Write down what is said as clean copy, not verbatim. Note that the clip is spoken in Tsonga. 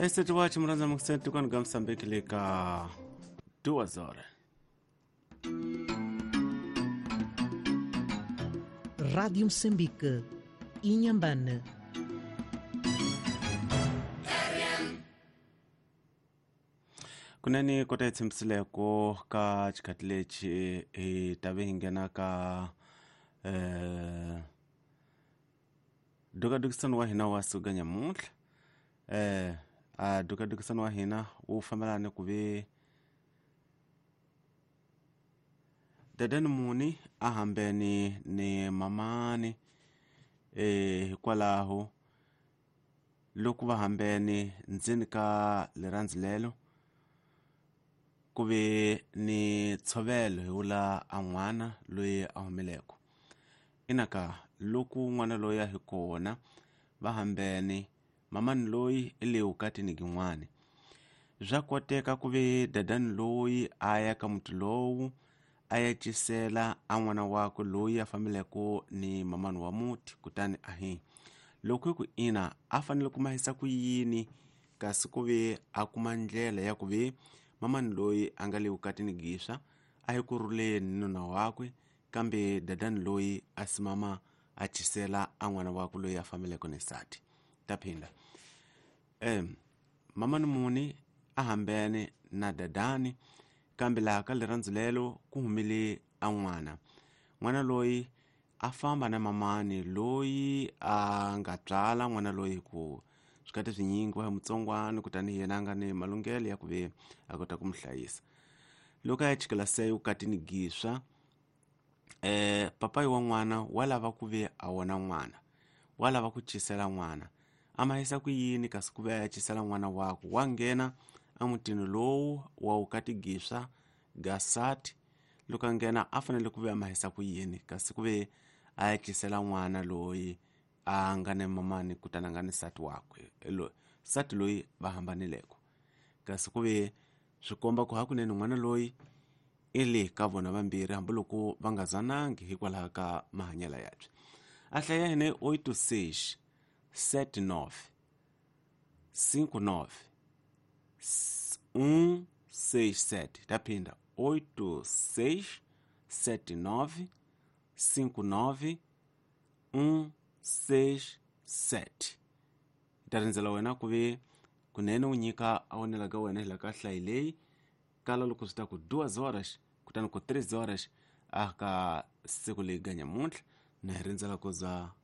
Eseti wachi muranza mukusenti kwanu ga Msambiki lika 2 horas. Rádio Moçambique, Inhambane. Kunene kota hi tshembisileko ka xikhathi lexi hi ta ve hi nghena ka dukadukisano wa hina wa suka nyamuntlha. A dukadukisano wa hina wu fambelana ni ku ve dadani muni a hambeni ni mamani, hikwalaho loko va hambeni ndzeni ka rirhandzu lelo ku ve ni ntshovelo hi wula a n'wana loyi a humeleko ina ka loko n'wana loyi a hi kona va hambene mamani loyi i le vukatini gin'wani. Swa koteka ku ve dadani loyi a ya ka muti lowu a ya cisela a n'wana wakwe loyi a fambeleko ni mamani wa muti, kutani ahi loko hi ku ina a fanele ku mahisa ku yini kasi ku ve a kuma ndlela ya ku ve mamani loyi a nga le vukatini giswa a hi ku rhuleni ni nuna wakwe, kambe dadani loyi a simama a cisela a n'wana wakwe loyi a fambeleko ni nsati. Ta phinda, mamani muni a hambene na dadani, kambe laha ka rirhandzu lelo ku humile a n'wana, n'wana loyi a famba na mamani loyi a nga tswala n'wana loyi hi ku swikati swinyingi wa hi mutsongwana, kutani yena a nga ni malunghelo ya ku ve a kota ku mu hlayisa. Loko a ya chikela se vukatini giswa, papayi wa n'wana wa lava ku ve a wona n'wana, wa lava ku cisela n'wana, a mahisa ku yini kasi ku ve a ya cisela n'wana wakwe wa nghena emutini lowu wa vukati giswa gasati. Loko a nghena a fanele ku ve a mahisa ku yini kasi ku ve a ya cisela n'wana loyi a nga ni mamani, kutani a nga ni nsati wakwe, nsati loyi va hambanileko, kasi ku ve swi komba ku hakunene n'wana loyi i le ka vona vambirhi hambiloko va nga zanangi hikwalaho ka mahanyelo yabye. A hlaya hina 86 79 59 167. Ta phinda, 86 79 59 167. Ta rindzela wena ku ve kunene u nyika a wonela ka wena hi la ka hlayi leyi kala loko swi ta ku 2 horas kutani ku 3 horas a ka siku leyi ga nyamuntlha na hi rindzela ku za.